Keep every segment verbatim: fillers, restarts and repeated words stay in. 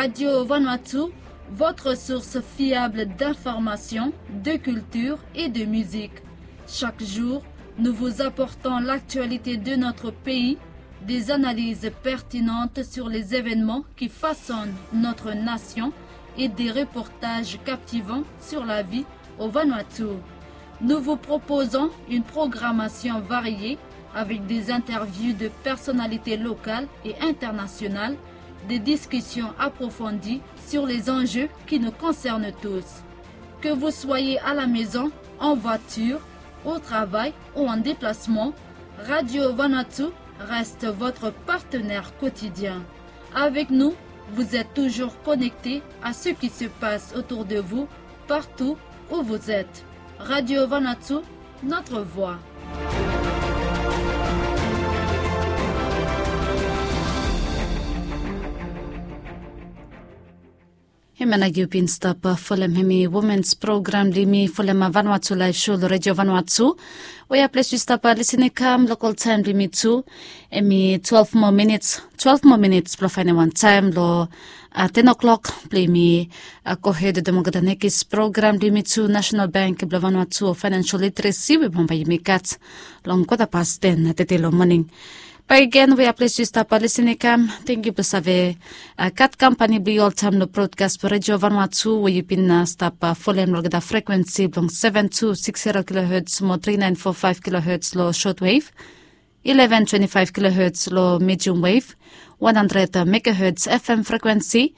Radio Vanuatu, votre source fiable d'information, de culture et de musique. Chaque jour, nous vous apportons l'actualité de notre pays, des analyses pertinentes sur les événements qui façonnent notre nation et des reportages captivants sur la vie au Vanuatu. Nous vous proposons une programmation variée avec des interviews de personnalités locales et internationales, des discussions approfondies sur les enjeux qui nous concernent tous. Que vous soyez à la maison, en voiture, au travail ou en déplacement, Radio Vanuatu reste votre partenaire quotidien. Avec nous, vous êtes toujours connecté à ce qui se passe autour de vous, partout où vous êtes. Radio Vanuatu, notre voix. Hemia nao yu bin stap folem hemi womens program blong yumi folem Vanuatu Laef Sho long Redio Vanuatu. Wea ples yu stap lisin i kam, lokal taem blong yumi tu hemi twelve moa minits, twelve moa minits blong faenem wan taem long ten o'clock blong yumi gohed wetem olgeta nekis program blong yumi tu. National Bank blong Vanuatu o Financial Literacy we bambae yumi gat long kwata pas ten tede long moning. Bakegen wea ples yu stap lisin i kam, tangkiu blong save gat kampani blong yu oltaem long brodkas blong Redio Vanuatu we yu bin stap folem long olgeta frekuensi blong seven two six zero kilohertz mo three nine four five kilohertz long shortwave, eleven twenty-five kilohertz long medium wave, one hundred megahertz F M frekuensi,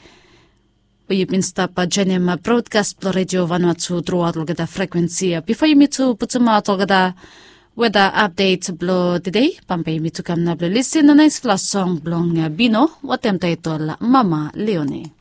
we yu bin stap joenem brodkas blong Redio Vanuatu truaot long olgeta frekuensi. Bifo yumi tu putumaot olgeta weda apdet blong tede, bambae yumi tu kam nao blong lisin long naesfala song blong Bino wetem taetol Mama Leone.